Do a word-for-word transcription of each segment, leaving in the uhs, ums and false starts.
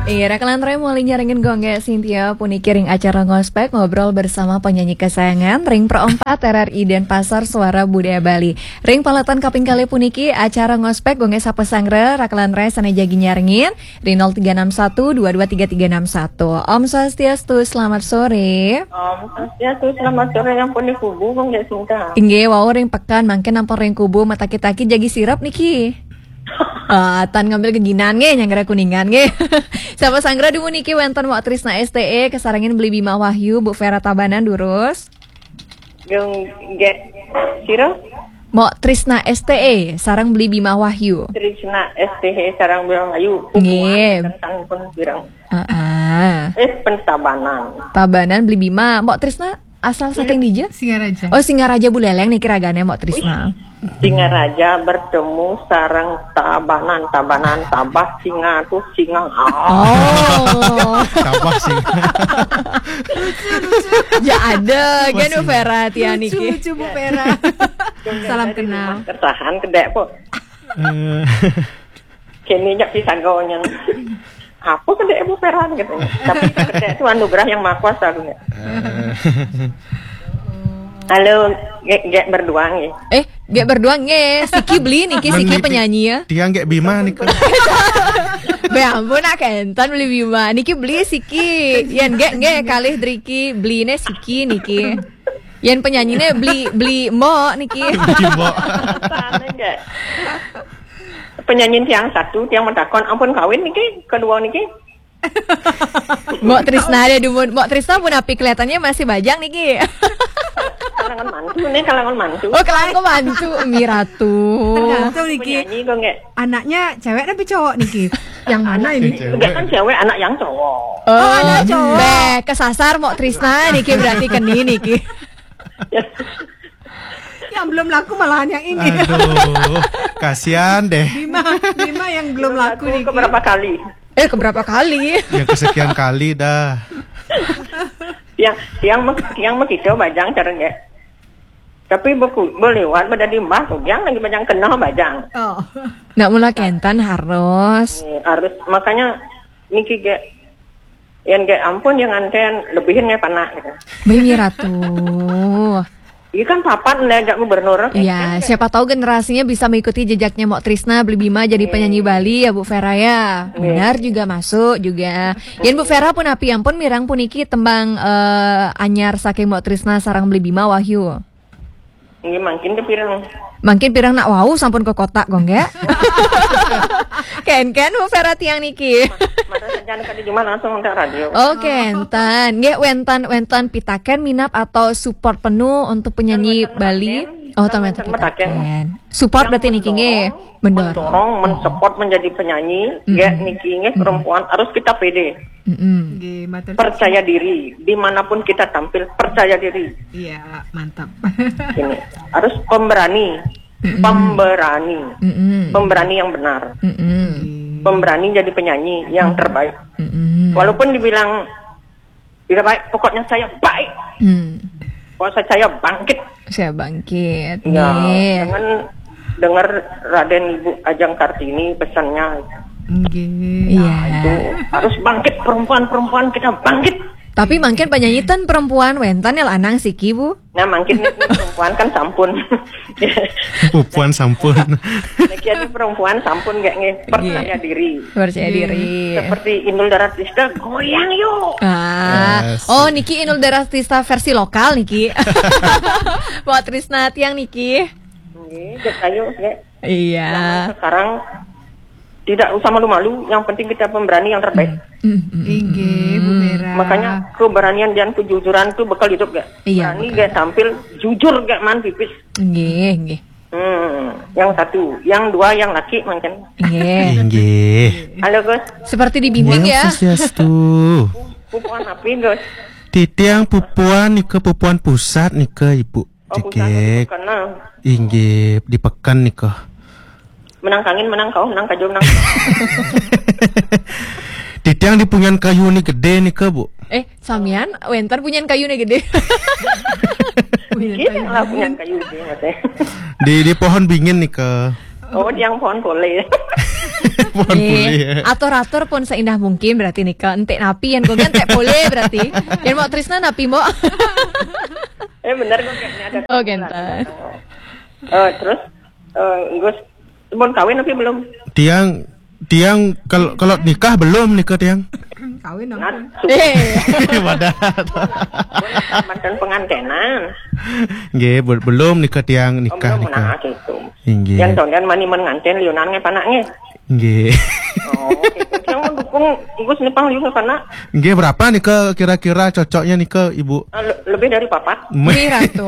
Iya, raka lan rai, malih nyarengin Gung Gek Sintia puniki ring acara Ngospek, ngobrol bersama penyanyi kesayangan ring Pro empat R R I Denpasar, Suara Budaya Bali. Ring paletan kaping kalih puniki acara Ngospek, Gung Gek sapa sanggra, raka lan rai sane jagi nyarengin ring nol tiga enam satu dua dua tiga tiga enam satu. Om Swastiastu, selamat sore. Om Swastiastu, selamat sore, yang pun di kubu, Gung Gek Sintia. Inggih, wau ring peken, mangkin ampun ring kubu, mataki-taki jagi sirep niki. Ah, tan ngambil geginan nggih, nyanggra Kuningan nggih. Sapa sanggra dumun niki, wenten Mok Trisna S T E, kasarengin Beli Bima Wahyu, Bu Vera Tabanan, durus. Gung Gek sira? Mok Trisna S T E, sareng Beli Bima Wahyu. Trisna S T E sareng Bima Wahyu. Nggih. Tentang pun pirang. Heeh. Eh, pentabanan. Tabanan Beli Bima. Mok Trisna asal saking dija? Singaraja. Oh, Singaraja Buleleng niki ragane, Mok Trisna. Singaraja bertemu sareng Tabanan, Tabanan, Tabah, Singa tuh, Singa. Oh. Tabah sih. Ya ada, kan, Bu Vera tiang niki. Lucu, lucu, Bu Vera. Salam kenal. Kertahan kedek, kok. Eh. Kene nyak pisang gonya. Apa kedek, Bu Vera, gitu. Tapi kedek itu anugerah yang maha kuasa, gitu. Eh. Halo, Gek, Gek berdua nggih. Eh, Gek berdua nggih. Siki Beli niki, siki penyanyi ya. Tiang Gek Bima niki. Be ampun, nak kenten Beli Bima. Niki Beli siki. Yen Gek nggih kalih driki, Beli ne siki niki. Yen penyanyine Beli, Beli Mok niki. Beli Mok. Sana nggih. Penyanyi tiang satu, tiang mentakon, ampun kawin niki, kedua niki. Mok Trisna ada dumun. Mok Trisna pun api kelihatannya masih bajang niki. Kalangan mantu nih, kalangan mantu. Oh, kalangan mantu, Miratu. Tergantung niki. Penyanyi kok nggak? Anaknya cewek tapi cowok niki? Yang mana ini? Cewek. Enggak kan cewek, anak yang cowok. Oh, anak cowok. Beh, kesasar Mok Trisna niki, berarti keni niki. Yang belum laku malahan yang ini. Aduh, kasihan deh. Bima, Bima yang belum laku niki. Keberapa kali? Eh, keberapa kali? Yang kesekian kali dah. Yang, yang me-, yang begitu bajang caranya. Tapi beku, belewat, bedadi mbah, kugiang lagi bajang kena bajang. Oh. Nak mula kenten harus. Eh, harus, makanya niki Gek, yang Gek ampun, yang nganten lebihin nggak panak gitu. Beli Ratu. Iya kan papat nih, ajak gubernur. Iya, kan, siapa tahu generasinya bisa mengikuti jejaknya Mok Trisna, Beli Bima jadi penyanyi Bali ya, Bu Vera ya. Benar juga, masuk juga. Yen Bu Vera pun api ampun mirang puniki tembang, eh, anyar saking Mok Trisna sareng Beli Bima, Wahyu. Nggih, mangkin ke pirang. Mangkin pirang nak wau sampun ke kotak, Gung Gek. Ken-ken Bu Vera tiang niki. Mata sajan kali cuma langsung untuk radio. Oh, kenten. Nggih, wenten, wenten pitaken minab atau support penuh untuk penyanyi Bali? Oh, ten wenten pitaken. Support berarti niki nggih. Mendorong, men-support menjadi penyanyi, nggih, niki nggih, perempuan harus kita pede. Mm-mm. Nggih, matur suwun. Percaya diri, dimanapun kita tampil, percaya diri. Iya, mantap. Ini harus pemberani, pemberani, pemberani yang benar, pemberani jadi penyanyi yang terbaik. Walaupun dibilang tidak baik, pokoknya saya baik. Pokoknya saya bangkit. Saya bangkit. Ya, dengan dengar Raden Ibu Ajeng Kartini pesannya. Nggih. Iya. Nah, itu harus bangkit, perempuan-perempuan, kita bangkit. Tapi mangkin penyanyi ten perempuan, wenten ya lanang siki, Bu. Nah, mangkin ini perempuan kan sampun. Perempuan sampun. Niki ada perempuan sampun nggak nggih? Percaya diri. Percaya diri. Seperti Inul Daratista, goyang yuk. Ah. Oh, niki Inul Daratista versi lokal niki. Mok Trisna tiang niki. Nggih, Gek, ayo, Gek. Iya. Zaman sekarang tidak usah malu-malu, yang penting kita pemberani yang terbaik. Inggih, Bu Vera. Makanya keberanian dan kejujuran itu bekal hidup, Gek. Iya, berani, Gek, tampil jujur, Gek, man pipis. Nggih, nggih. Hmm, yang satu, yang dua, yang laki mungkin. Nggih. Inggih. Halo, Gus. Seperti dibimbing ya. Swastiastu. Pupuan apa, Gus? Titiang pupuan nika, pupuan pusat nika, Ibu. Oh, pusat. Inggih, di peken nika. Menang kangin, menang kau, menang kajo, menang. Titiang di punyan kayu ni gede nika, Bu. Eh, samian, wenten punyan kayu ni gede. Punyan kayu. Iya lah, punyan kayu gede, Mas. Di, di pohon bingin nika. Oh, tiang pohon pole. Pohon pole. Atur-atur pun seindah mungkin berarti nika. Entek napi yang gue entek pole berarti. Yang mau Trisna napi, Mbok? Eh, bener kok, kayaknya ada. Oh, gentan. Eh, terus, eh, Gus, pun kawin tapi belum? Tiang tiang kalau kalau nikah belum nikah tiang. Kawin dong. Nah, Wadah. Mantan pengantenan. Nggih, be- belum nikah tiang Oh, nikah belum nikah. Nah, gitu. Inggih. Yang tondan mani menganten liunan nge panaknya. Nggih. Oh, gitu. Yang mau dukung Gus nih pang liu nge panak. Nggih, berapa nikah kira-kira cocoknya nikah Ibu? Ah, le- lebih dari papat. Wih, Ratu.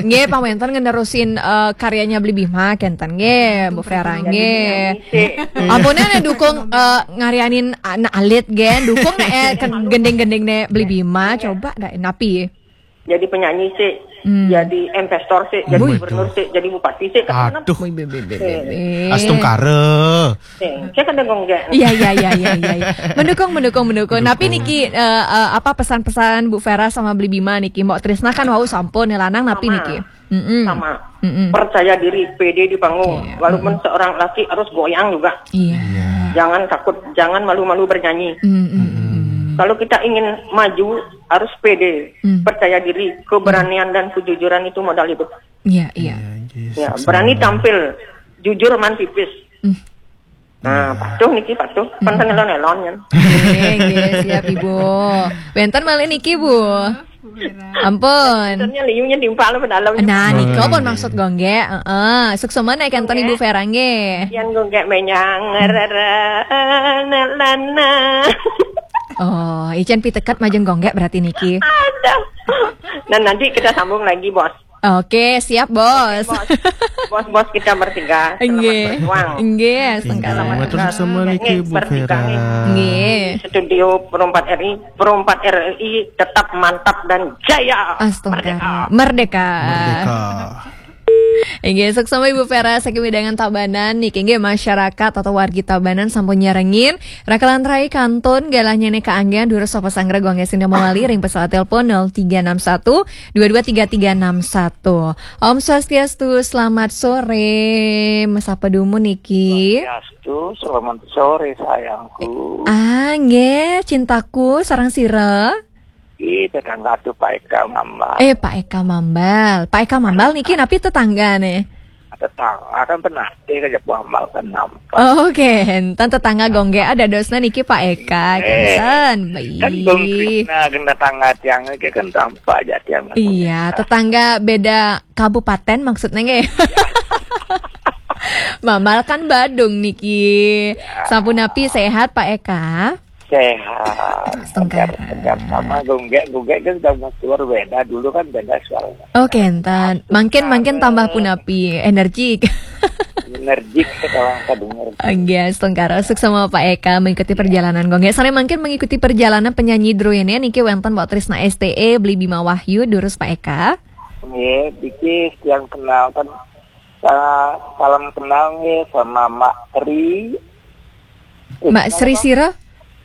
Nggih, Pak Wenton ngenerusin eh, karyanya Beli Bima kenten nggih, Bu Vera nggih. Si Ampun, nih dukung eh, ngarianin anak alit gen, dukung nih eh, gending-gending nih Beli Bima, coba dah napi. Jadi penyanyi sih, Hmm. Jadi investor sih, jadi Wih, gubernur tuh. Sih, jadi bupati sih. Kan Aduh. Wih, be- be- be- be- be. Astungkara. Sih, saya kan dengung gak. Iya iya iya iya iya. Iya. Mendukung mendukung mendukung. Tapi niki eh, eh, apa pesan-pesan Bu Vera sama Beli Bima niki? Mbok Trisna kan wau sampun nih lanang napi Sama. Niki? Mm-mm. Sama. Mm-mm. Percaya diri, pede di panggung. Iya. Walaupun seorang laki harus goyang juga. Iya. Jangan takut, jangan malu-malu bernyanyi. Mm-mm. Kalau kita ingin maju, harus pede, Hmm. percaya diri, keberanian dan kejujuran itu modal hidup. Iya iya. Ya, berani tampil, jujur man pipis. Hmm. Nah, patuh niki patuh, kan kan elon-elon kan. Nggih, nggih, siap Ibu. Wenten malih niki Bu. Ampun. Sebenarnya liunya timpal apa dalam. Nah, nika pun maksud gue nggih. Heeh. Suksma nek kenten Ibu Vera nggih. Yang gue gak menyang rere lana. Oh, icen piteket majeng gonggek berarti niki. Aduh. Dan nanti kita sambung lagi, Bos. Oke, siap Bos. Bos, bos-bos kita bertiga. Selamat Nggih. berjuang. Nggih, Nggih, setengkara. matur suksma niki Bu Vera. Nggih. Studio Pro empat R I, Pro empat R I tetap mantap dan jaya. Astungkara. Merdeka. Merdeka. Inggih, suksma Ibu Vera saking wewidangan Tabanan niki inggih masyarakat atau wargi Tabanan sampun nyarengin. Rakalan rai kantun galah nyene kaanggen durus sapa sanggra gongge sing mawali ring pesawat telepon nol tiga enam satu dua dua tiga tiga enam satu. Om Swastiastu, selamat sore. Mesapa dumun niki? Swastiastu, selamat sore sayangku. Ah, nggih, cintaku sareng sira. Ih, tetangga tuh Pak Eka Mambal. Eh, Pak Eka Mambal. Pak Eka Mambal niki napi tetanggane? Tetangga kan pernah, eh, kerja Mambal kan nampak. Oke, enten tetangga gongge ada dosna niki Pak Eka, Eh, kenten. Kan Bang Baik. Krisna kena tangga tiang, kan tampak aja tiang. Iya, tetangga beda kabupaten maksudnya nggih. Mambal kan Badung niki. Sampun napi sehat Pak Eka? Sehat. Astungkara. Sehat sama gonggek, gonggek kan sudah keluar beda. Dulu kan beda suaranya. Oke, enten. Makin makin tambah punapi, energik. Energik sekarang saya dengar. Nggih, astungkara suksma Pak Eka mengikuti perjalanan gongge. Sare mangkin mengikuti perjalanan penyanyi druene niki wenten Mbok Trisna S T E, Beli Bima Wahyu, durus Pak Eka. Nggih, Biki yang kenal kan, sa- salam kenal nih sama Mak Tri. Eh, Mbak Sri Sira?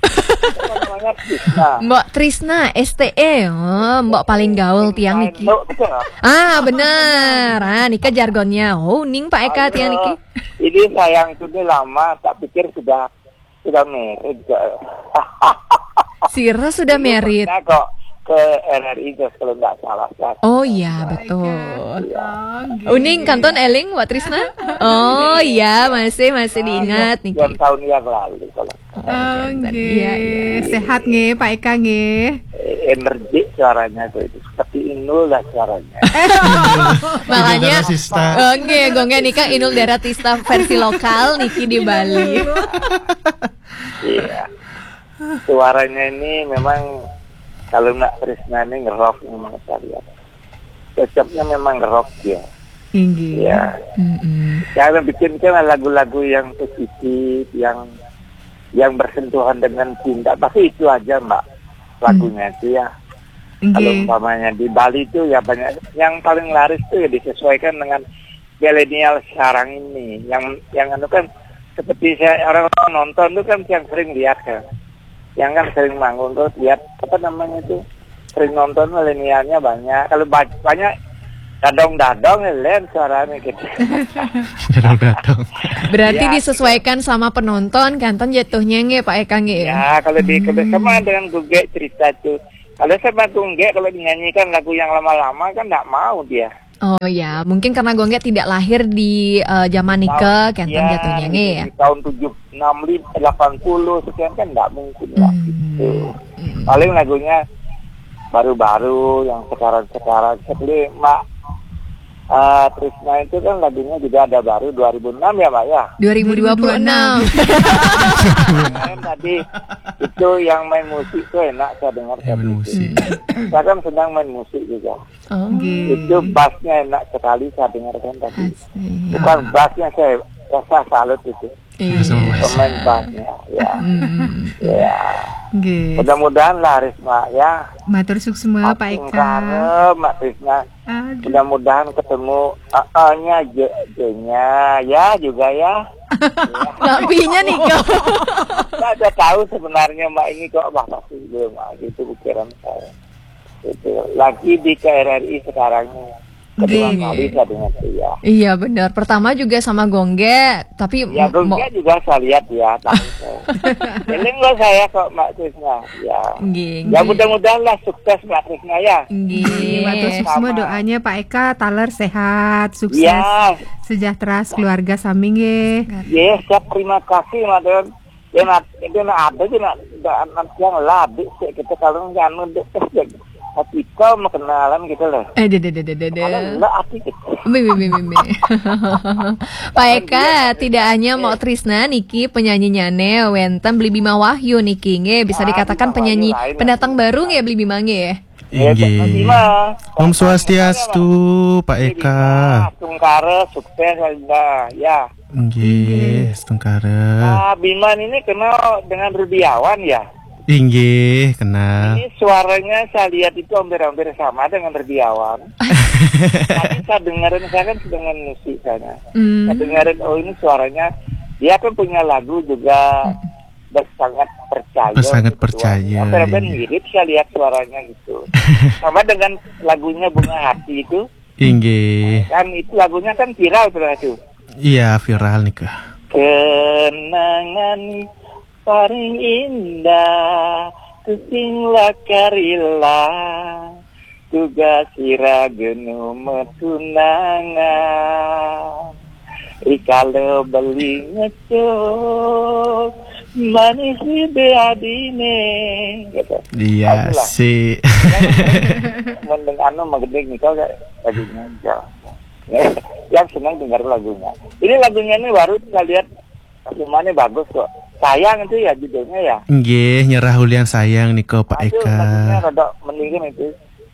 Apa namanya? Krisna. Mbok Trisna S T E. Oh, Mbok paling gaul tiang niki. Itu, betul. Ah, bener. Ah, nika jargonnya. Oh, ning Pak Eka tiang niki. Ini sayang itu dia lama, tak pikir sudah sudah married. Sira sudah married. Nah, kok ke R R I Jos kalau nggak salah kan. Oh iya, betul. Oh, Uning kantun eling Mbok Trisna? Oh iya, masih masih diingat Dua niki. Tahun yang lalu kalau Oh, Iya, nggih. iya, iya. Sehat nggih, Pak Eka nggih. eh, energi suaranya tuh itu seperti Inul lah suaranya. Makanya Inul Daratista. Oh, nggih, gongge nika Inul Daratista versi lokal niki di Bali. Iya. Suaranya ini memang kalau nggak Krisna ini ngerok memang saya lihat. Cocoknya memang ngerok ya. Inggih. Ya. Mm-mm. Saya bikin kan lagu-lagu yang positif, yang yang bersentuhan dengan cinta. Pasti itu aja, Mbak. Lagunya itu ya. Kalau Inggih. Umpamanya di Bali itu ya banyak yang paling laris itu ya disesuaikan dengan milenial sekarang ini. Yang yang anu kan seperti saya orang nonton itu kan yang sering lihat kan. Yang kan sering manggung tuh lihat apa namanya itu sering nonton milenialnya banyak. Kalau ba- banyak Dadong-dadong, len suaranya gitu. Dadong-dadong. Berarti Ya. Disesuaikan sama penonton, kanten jatuhnya nggih Pak Eka nggih. Ya, kalau di kalau sama dengan Gungge cerita tuh. Kalau sama Gungge, kalau dinyanyikan lagu yang lama-lama kan nggak mau dia. Oh ya, mungkin karena Gongge tidak lahir di eh, zaman nika, kanten Ya, jatuhnya nggih ya. Di tahun tujuh enam lima delapan puluh sekian kan nggak mungkin lah Hmm. gitu. Paling lagunya baru-baru yang sekarang-sekarang. Seperti Mak eh, Trisna itu kan lagunya juga ada baru dua ribu enam ya, Mak ya. dua ribu dua puluh enam. Kan tadi itu yang main musik tuh enak saya dengar Ya, tadi. Musik. Saya kan sedang main musik juga. Oh. Nggih. Itu bassnya enak sekali saya dengarkan tadi. Asik. Bukan bassnya, saya rasa salut itu. Iya. Sama Pemain bassnya, ya. Hmm. Ya. Nggih. Mudah-mudahan laris, Mak, ya. Matur suksma Pak Eka. Astungkara, Mak Trisna. Aduh. Mudah-mudahan ketemu A-nya, J-nya, ya juga ya. Nggak pinya nih kok. Saya udah tahu sebenarnya Mak ini kok, wah, pasti belum, Mak, gitu pikiran saya. Gitu. Lagi di K R R I sekarang ini. Kedua Nggih. Kali saya dengar dia. Iya benar. Pertama juga sama Gongge, tapi Ya, mo- mo- Gongge juga saya lihat ya, tahu saya. Eling lo saya kok, Mak Trisna. Ya. Nggih, Ya, nggih. Mudah-mudahan lah sukses, Mak Trisna, ya. Nggih, matur suksma Sama. Doanya Pak Eka taler sehat, sukses, Ya. Sejahtera keluarga sami nggih. Ya, siap, terima kasih, Mak Don. Ya, nak, itu nak ada sih, nak, nak, nak yang labik sih, kita kalau nggak anu deh, tapi kau mau kenalan gitu loh. Eh, deh, deh, deh, deh, deh, deh. Kalau enggak, aku gitu. Bi, bi, bi, bi, bi. Pak Eka, tidak hanya Mak Trisna niki penyanyinya ne wenten Beli Bima Wahyu niki nggih, bisa Ah, dikatakan Bima Wahyu penyanyi lain. Pendatang Baru nggih Beli Bima nggih. Ya, Inggih. Bima. Om Swastiastu, Pak Eka. Astungkara, sukses, Anda. Ya. Inggih, Astungkara. Ah, Bima ini kenal dengan Rudiawan, ya? Inggih, kenal. Ini suaranya saya lihat itu hampir-hampir sama dengan Rudiawan. Tapi saya dengerin, saya kan sedang main musik saya. Hmm. Saya dengerin, oh, ini suaranya, dia kan punya lagu juga, sangat percaya. Sangat gitu, percaya, suaranya. Hampir-hampir iya. Mirip saya lihat suaranya gitu. Sama dengan lagunya Bunga Hati itu. Inggih. Kan itu lagunya kan viral tuh itu. Iya, viral nih, Kak. Kenangan paling indah tusing lakarila, tugas ira genu metunangan. Rikala beli ngecok, manis libe adine. Gitu. Iya Itulah. Sih. Mending anu, mending nikah gak lagunya aja. Yang senang dengar lagunya. Ini lagunya ini baru saya lihat, semuanya bagus kok. Sayang itu ya judulnya, ya. Nggih, Nyerah Ulian Sayang nika, Pak Aduh, Eka. Lagunya rada mendingin itu.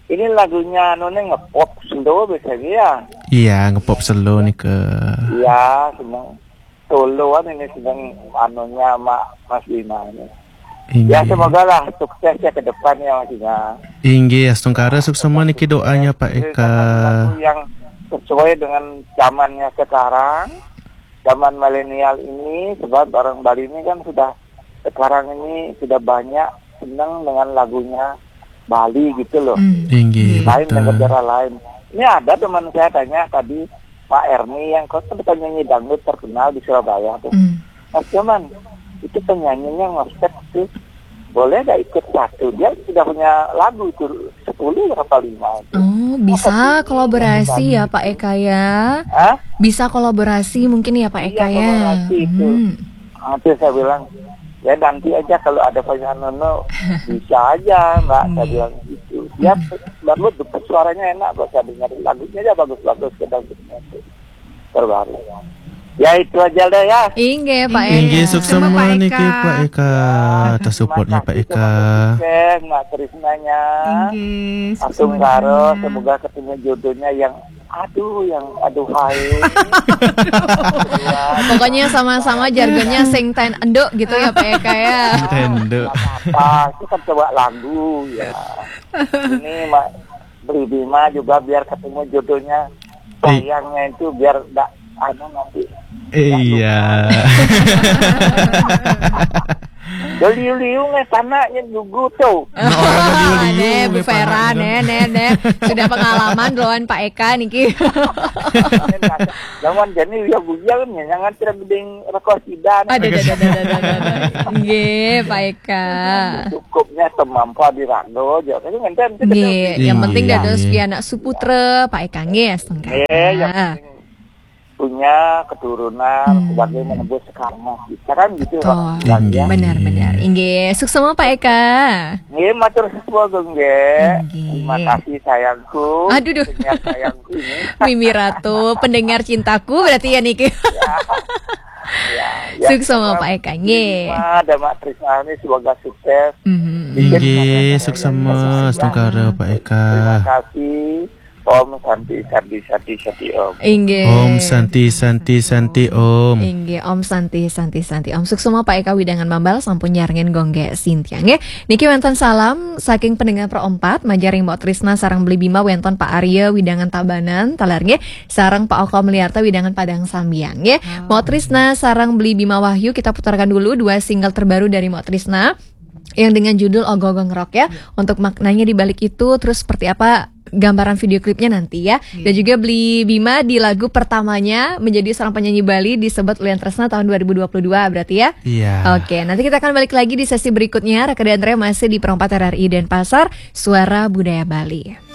Ini lagunya anu nih, ngepop slow biasanya, ya. Iya, ngepop slow nika. Iya, seneng. Soloan ini sedang anunya sama Mas Bima ini. Ya, Inggih. Semoga lah sukses ya ke depan ya, Mas Bima. Inggih, Astungkara, suksma niki doanya, Pak Eka. Lagu-lagu yang sesuai dengan zamannya sekarang, zaman milenial ini, sebab orang Bali ini kan sudah, sekarang ini sudah banyak senang dengan lagunya Bali gitu loh. Hmm. Inggih, Lain dengan betul. Negara lain. Ini ada teman saya tanya tadi, Pak Erni, yang kau kan penyanyi dangdut terkenal di Surabaya tuh. Hmm. Mas Joman, itu penyanyinya ngostek tuh. Boleh gak ikut satu? Dia sudah punya lagu itu sepuluh apa lima itu. Oh, bisa kolaborasi ya Pak Eka ya. Hah? Bisa kolaborasi mungkin ya Pak Eka Iya, ya. kolaborasi itu. Hmm. Ah, terus saya bilang, ya nanti aja kalau ada penyanyi Nono, bisa aja, Mbak. Saya Hmm. Bilang gitu. Ya, baru suaranya enak, Mbak. Saya dengar lagunya aja bagus-bagus, kadang gitu. Terbaru. Ya, itu aja deh ya. Inggih Pak Eka. Inggih, suksma Sama Pak niki, Eka. Pak Eka. Atas support-nya, Pak Eka. Sukses, Mbak Trisnanya. Inggih, Astungkara, suksma. Semoga ketemu jodohnya yang, aduh, yang aduh hai. Pokoknya sama-sama jargonnya sing ten enduk gitu ya Pak Eka ya. Tendo. Apa itu kan coba lagu ya. Ini Mak Beli Bima juga biar ketemu jodohnya. Sayangnya itu biar ndak anu nanti. Iya. Liu-liu nge tanaknya gugu tuh. Nah, orang liu-liu Neh, nge Bu Vera, tanaknya. neh, neh, neh. Sudah pengalaman duluan Pak Eka niki. Lawan jani ya bujang nya jangan tidak gedeng rekor sidan. Ada, ada, ada, ada, ada, ada. Nggih, Pak Eka. Cukupnya temampa di rago aja. Tapi ngenten Nggih, yang penting Nggih. Dados pianak suputra, Pak Eka nggih, astungkara. Eh, yang penting punya keturunan sebagai menebus karma kita kan gitu. Betul. Pak. Ya. Benar, benar. Inggih, suksma Pak Eka. Nggih, matur suwun nggih. Nggih. Terima kasih sayangku. Aduh, duh. Pendengar sayangku ini. Mimi Ratu, pendengar cintaku berarti ya niki. Ya, Suksma Pak Eka nggih. Ada Mak Trisna ini semoga sukses. Mhm. Inggih, suksma astungkara Pak Eka. Terima kasih. Om Santi Santi Santi Santi Om. Inggih. Om Santi Santi Santi Om. Inggih, Om Santi Santi Santi Om. Suksma Pak Eka Widangan Mambal sampun nyarengin gonggé Sintia nggih. Niki wénten salam saking pendengar Pro empat, majaring Mbok Trisna sareng Beli Bima wénten Pak Arya Widangan Tabanan, taler nggih, sareng Pak Oko Meliarta Widangan Padang Sambiang nggih. Mbok Trisna sareng Beli Bima Wahyu, kita putarkan dulu dua single terbaru dari Mbok Trisna yang dengan judul Ogo-ogo Ngerok ya. Untuk maknanya di balik itu, terus seperti apa gambaran video klipnya nanti ya. Dan juga Beli Bima di lagu pertamanya menjadi seorang penyanyi Bali di Sebet Ulian Tresna tahun dua ribu dua puluh dua berarti ya. Iya. Oke, nanti kita akan balik lagi di sesi berikutnya. Raka dan Re masih di Perempat R R I Denpasar, Suara Budaya Bali.